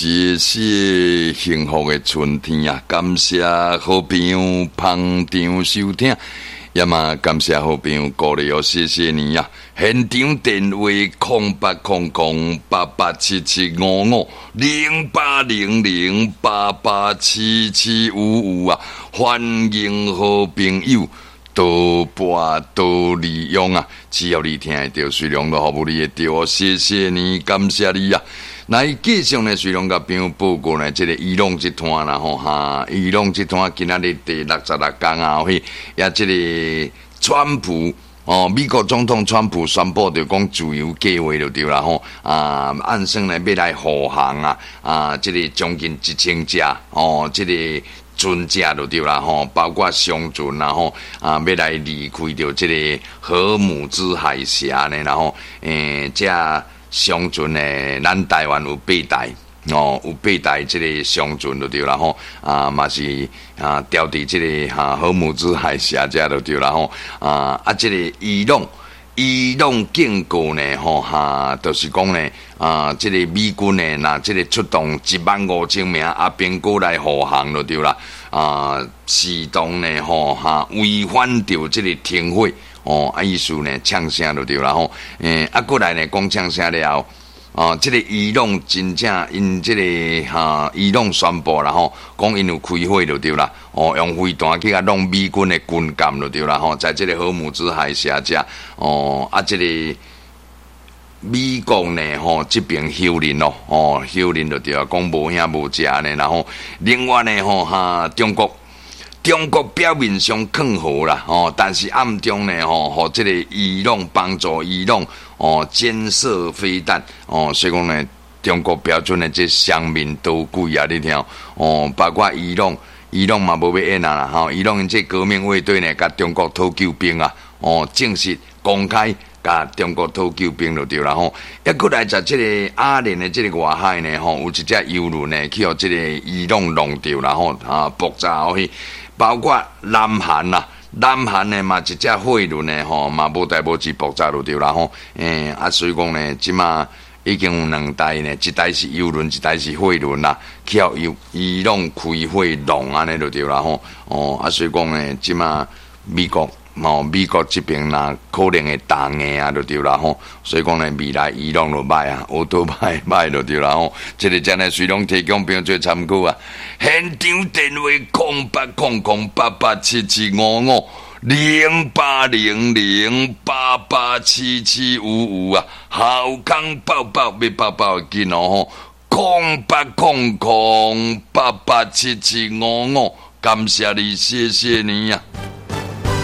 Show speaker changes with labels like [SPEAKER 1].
[SPEAKER 1] 謝謝幸福的春天啊！感謝好朋友捧場收聽，也嘛感謝好朋友鼓勵哦，謝謝你啊！現場電話0800887755，0800887755啊！歡迎好朋友多撥多利用啊！只要你聽會著，隨量都服務你會著哦，謝謝你，感謝你啊！來繼續呢，隨量共朋友報告呢，這个伊朗這攤啦吼哈，伊朗這攤今仔日第66工啊，彼也這个川普哦，美國總統川普宣布著講自由計劃就對啦吼啊，按算呢欲來護航啊啊，這个將近1000隻哦，這个船隻就對啦吼，包括商船啦吼啊，欲來離開著這个荷姆茲海峽呢，然後這商船呢，咱台灣有八台哦，有八台這个商船就對啦吼，啊嘛是啊調佇這个哈荷姆茲海峽遮就對啦吼，啊啊這个伊朗，伊朗警告呢吼哈，就是講呢啊，這個美軍呢，若這个出動15000名阿兵哥來護航就對啦，啊，視同呢吼哈違反著這个停火。哦，啊意思呢，嗆聲就對啦吼，啊過來呢，講嗆聲了後，哦，這个伊朗真正𪜶這个哈，伊朗宣布啦吼，講𪜶有開火就對啦，哦，用飛彈去共弄美軍的軍艦就對啦吼，在這个荷姆茲海峽遮，哦，啊這个美國呢吼，這邊否認咯，哦，否認就對啦，講無影無食呢，然後另外呢吼哈，中國。中國表面上勸和啦，吼，但是暗中呢，吼，予這个伊朗幫助伊朗哦，監射飛彈哦，所以講呢，中國標準的這雙面刀鬼啊，你聽哦，包括伊朗，伊朗嘛無欲演啊啦，吼，伊朗𪜶這革命衛隊呢，共中國討救兵啊，哦，正式公開共中國討救兵就對啦吼，抑閣來在這个阿聯的這个外海呢，吼，有一隻油輪呢，去予這个伊朗弄著啦吼，啊，爆炸予彼。包括南韓啦，南韓呢嘛一隻貨輪呢吼，嘛無代無誌爆炸就對啦吼。啊，所以講呢，這馬已經有兩台呢，一台是油輪，一台是貨輪啦，去予伊朗開火弄按呢就對啦吼。哦，啊，所以講呢，這馬美國哦，美國這邊若可能會打硬啊，就對啦吼。所以講呢，未來伊朗就歹啊，烏都歹歹就對啦吼。這个真的隨攏提供朋友做參考啊。現場電話0800887755，0800887755啊，好康報報欲報報緊哦吼，0800887755，感謝你，謝謝你啊。